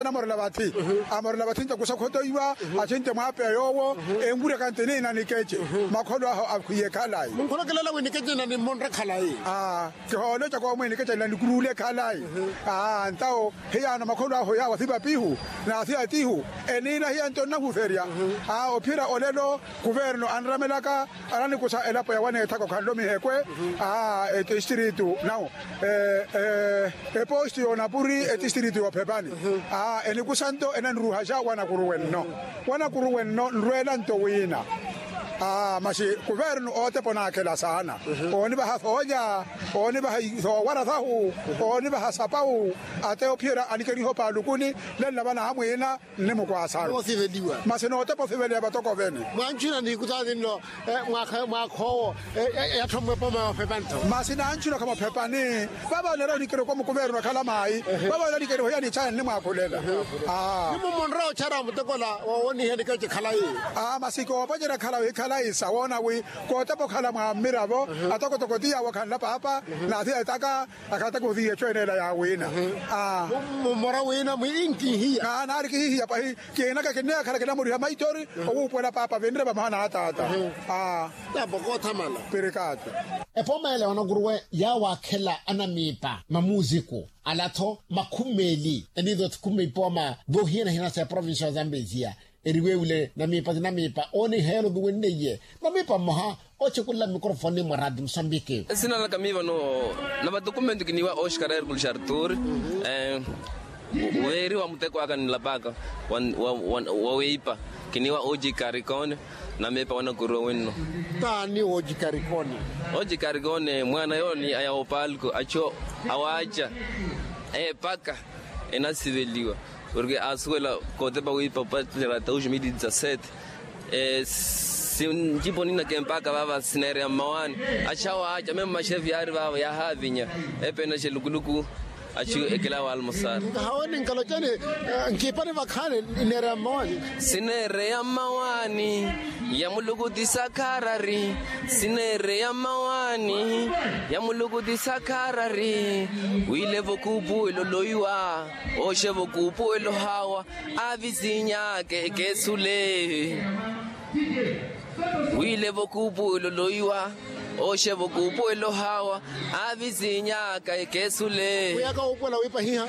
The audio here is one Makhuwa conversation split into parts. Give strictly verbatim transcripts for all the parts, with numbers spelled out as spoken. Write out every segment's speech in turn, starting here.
Anamorela vathi. Amorela vathi nto kusa khotoiwa. Athi nto mwaapeya yoowo enwuryaka nti niina nikece. Makholo ahu akhwiye khalayi. Munkholokelela wi nikece nina nimmonre khalayi. Kihooloca koomwe nikece nina nikuruule khalayi. Ntawo hiyaano makholo ahu yaawo athipapihu n'athiyatihu. Eniina hiya nto nnahuferya. Ophira olelo kuverno anramelaka ananikusa elapo ya waneethaka okhanle omihekwe. Aa etistiritu nawo eposti y'onapuri etistiritu y'ophepani. Aa enikusa nto enaniruhaxa wanakuru wenno. Wanakuru wenno nrweela nto wiina. Aa masi kuverno ootepa onaakhela saana. Oonivaha soolya oonivaha soowara sahu oonivaha sapawu. Ate ophiyela anikeriha opaalukuni. Lenla vanaha mwiina nni mukwaasaru. Masi nootepa osiveliwa vatoko vene. Mwanchuna niikuta ninno mwaakha owo. Eyattho mmwepo maphepani tho masi nanchuna khamuphepani. Vava oneera onikeriwa omukuverno akhala maayi. Vava oneera onikeriwa hiya nichaya nnimwaakhulela. Nimumonra ochaara mutekola wowoniha nikece khalayi. Masi koopacerya khalayi khalayi sawoona wi kootepa okhala mwa mmiravo atokotoko ti yaawo akhanla paapa. N'athiya etaka akhataka ohiya echo eneela yaawiina. Mummora wiina mwiinkihiya. Naari kihihiya pahi kiinaka kinneekhala kinamuriha maithori owuupuwela paapa vinre vamoha n'ataata. Aa. Tapo koothamala. Pirikaati. Epooma ele wanakuruwe yaawaakhela anamiipa mamuuziku ala-tho makhumeeli eniizo thikhumi ipooma. Voohiyana hina sa eprovincia ya zambezia eriwewule namiipa ti namiipa ooniheela oviwenneiye. Namiipa mmoha ochekulala mmikorofoni mwa raati musambiki. Esina laka miipa no na vatukumentu kiniiwa oxcar hercules artur. Weeriwa muteko aka nilapaka wa weipa kiniiwa oji karikone. Namiipa wanakuru wenno. Taani oji karikone? Oji karikone mwaana yooni aya opalko acho awaaca eepaka enasiveliwa. Porke asuwela kootepa wiipa opatela dos mil e dezasete. Sinjipo nina kempaka vava sineereya mmawaani. Achawa aca memo maxefi yaari vava yahaavinya. Epenaxe lukuluku achu ekela waalmosara. Nkahaweni nkalocani nkiipani vakhaani ineereya mmawaani. Sineereya mmawaani ya muluku ti sakharari. Sineereya mmawaani ya muluku ti sakharari. Wiilevo kuupuwelo loiwa. Oxevo kuupuwelo haawa aavisinyaka ekesule. Wiilevo kuupuwelo loiwa. Oxevo kuupuwelo haawa aavisinyaka ekesule. Wiyaka wuupuwela wiipa hiha.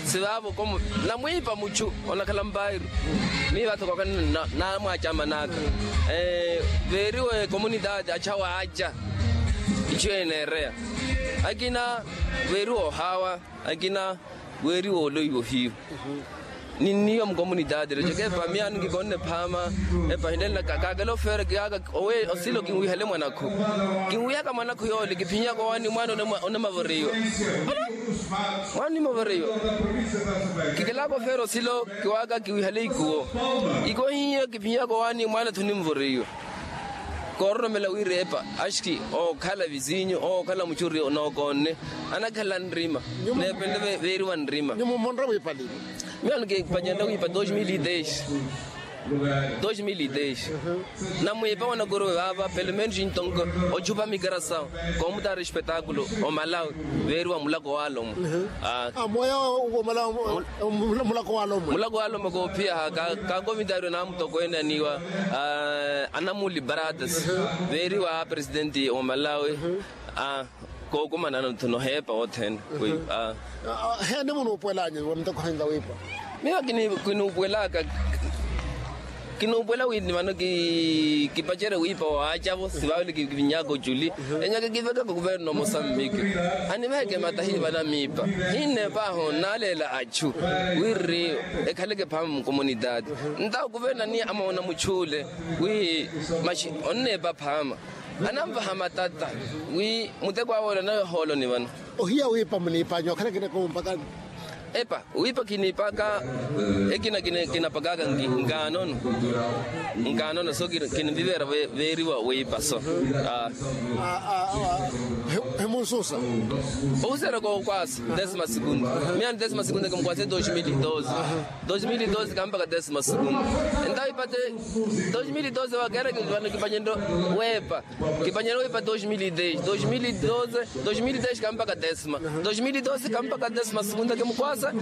Sivaavo komu namwiipa muchu onakhala mpairu. Miiva thokokani namwacamanaka. Veeriwe komunitaati achawa aca ichu eneereya. Akina weeriwa ohaawa. Akina weeriwa oloiwa ohiyu. Ninniiwa mukomunitaati reco keepa miyaani nkikonne phaama. Epa hilenlaka kaakela ofeere kiyaaka owe osilo kinwihale mwanakhu. Kinwiyaka mwanakhu yoole kiphinyaka owaani mwaana onimavoreiwa. Mwaana onimavoreiwa. Kikelaka ofeere osilo kiwaaka kiwihale ikuwo. Ikuwo hiyo kiphinyaka owaani mwaana thunimvoreiwa. Koororomela wira epa axki ookhala visinyu ookhala muchuri nookonne. Anakhala nrima. Neepende veeriwa nrima. Nyumo mmonre wiipali? Miyo nikipanyerya wiipa dos mil e dez. Dos mil e dez. Namwiipa wanakuruwe vaava pelo menos intonko ochupa mikerasawo. Koomutaari espetakulo omalawi veeriwa mulako waalomwe. Mulako waalomwe. Mulako waalomwe koophiyaha. Kaakomitaariwe naamutokweene aniiwa anamuli baratas. Veeriwa apresidenti omalawi. Kookumanano nthu noheepa othene. Heeni munuupuwel'anyu muteko henza wiipa? Miyo kinuupuwelaka. Kinuupuwela wi ni vano kipacerye wiipa waacavo sivaavile kivinyaka oculi. Enyaka kivekaka kuverno mosambiki. Aniveke matahi vanamiipa. Hineepaaho nnaaleela achu wirri ekhaleke phaama mukomunitaati. Ntawo kuverno aniya amoona muchule wi maxi onneepa phaama. Ananvaha matata wi muteko awe ole anawe ohooloni vano. Ohiya wiipa muniipanya okhalakina koompakani? Epa wiipa kiniipaka. Ekina kinapakaka nkaanono. Nkaanono so kinivivera veeriwa wiipa so. Himunsusa ohuseera kookwasa desima segunda. Miyaani desima segunda kimukwaase dos mil e doze. Dos mil e doze kampaka desima segunda. Entawo ipate dos mil e doze wakeera vano kipanyeryo weepa. Kipanyeryo wiipa dos mil e dez dos mil e doze. Dos mil e dez kampaka desima. Dos mil e doze kampaka desima segunda kimukwaasa.